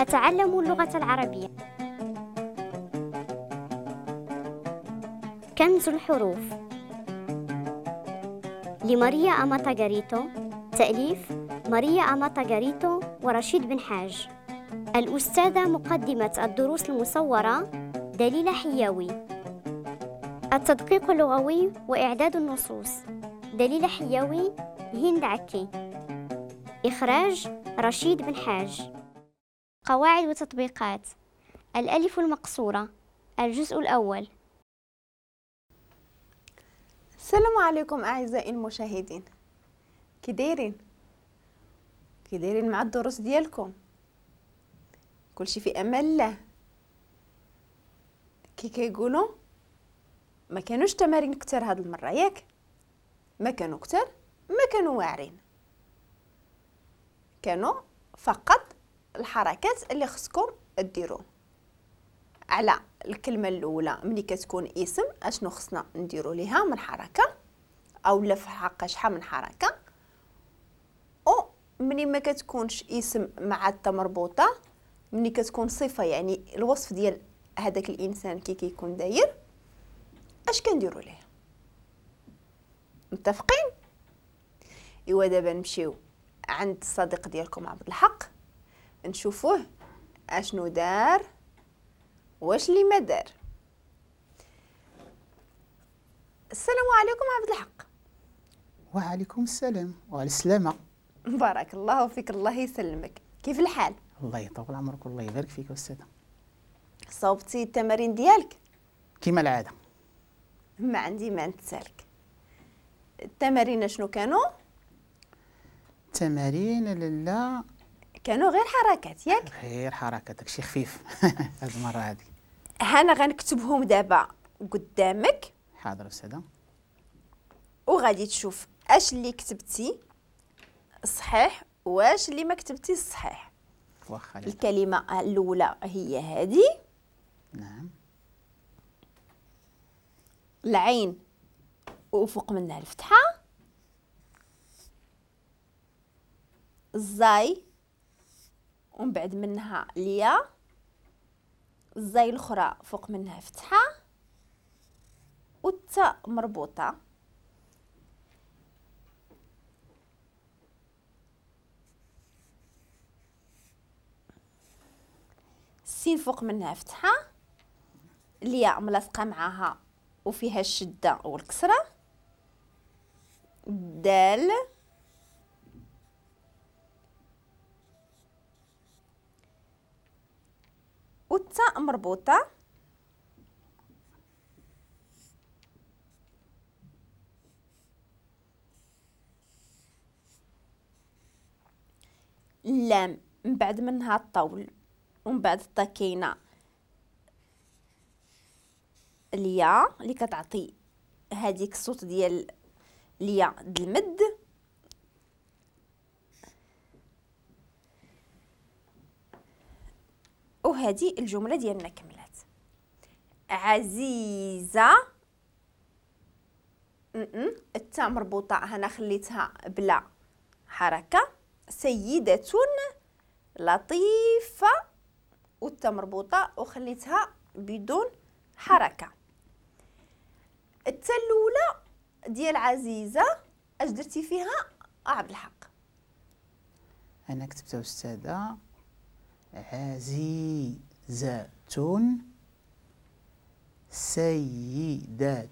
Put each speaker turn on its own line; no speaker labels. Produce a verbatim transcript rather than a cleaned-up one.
أتعلم اللغة العربية. كنز الحروف لماريا أماتاغاريتو، تأليف ماريا أماتاغاريتو ورشيد بن حاج. الأستاذة مقدمة الدروس المصورة دليلة حياوي. التدقيق اللغوي وإعداد النصوص دليلة حياوي، هند عكي. إخراج رشيد بن حاج. قواعد وتطبيقات الألف المقصورة، الجزء الأول.
السلام عليكم أعزائي المشاهدين، كي دايرين؟ كي دايرين مع الدروس ديالكم؟ كلشي في امان الله. كي كيقولوا ما كانوش تمارين كتر هاد المرة، ياك؟ ما كانوا كتر، ما كانوا واعرين، كانوا فقط الحركات اللي خصكم ديروا على الكلمة الاولى ملي كتكون اسم اشنو خصنا نديروا ليها من حركة او لا في حق شحال من حركة، او ملي ما كتكونش اسم مع التا مربوطة، ملي كتكون صفة يعني الوصف ديال هذاك الانسان كي كيكون داير اش كنديروا ليه. متفقين؟ ايوا دابا نمشيو عند الصديق ديالكم عبد الحق نشوفوه اشنو دار واش اللي ما دار. السلام عليكم عبد الحق.
وعليكم السلام وعلى السلامة.
بارك الله فيك، الله يسلمك. كيف الحال؟
الله يطول عمرك والله يبارك فيك أستاذة.
صوبتي التمارين ديالك؟
كما العادة.
ما عندي ما نتسالك. التمارين شنو كانوا؟
التمارين لالا
كانوا غير حركات، ياك؟
غير حركات، داكشي خفيف هاد المرة هادي.
انا غنكتبهم دابا قدامك.
حاضر أستاذة.
وغادي تشوف اش اللي كتبتي صحيح واش اللي ما كتبتي صحيح.
واخا.
الكلمة الأولى هي هذه.
نعم.
العين وفوق منها الفتحة، الزاي ومن بعد منها الياء، الزاي الأخرى فوق منها فتحة والتاء مربوطة. السين فوق منها فتحة، الياء ملاصقة معاها وفيها الشدة والكسرة، الدال والتاء مربوطة، اللام من بعد منها الطول ومن بعد الطا كاينه الياء اللي كتعطي هذيك الصوت ديال الياء د المد، وهذه الجملة ديالنا كملات. عزيزه التاء مربوطة هنا خليتها بلا حركة، سيده لطيفة والتاء مربوطة وخليتها بدون حركة. التاء الاولى ديال عزيزه اش درتي فيها عبد الحق؟
انا كتبتها استاذه عزيزه سيده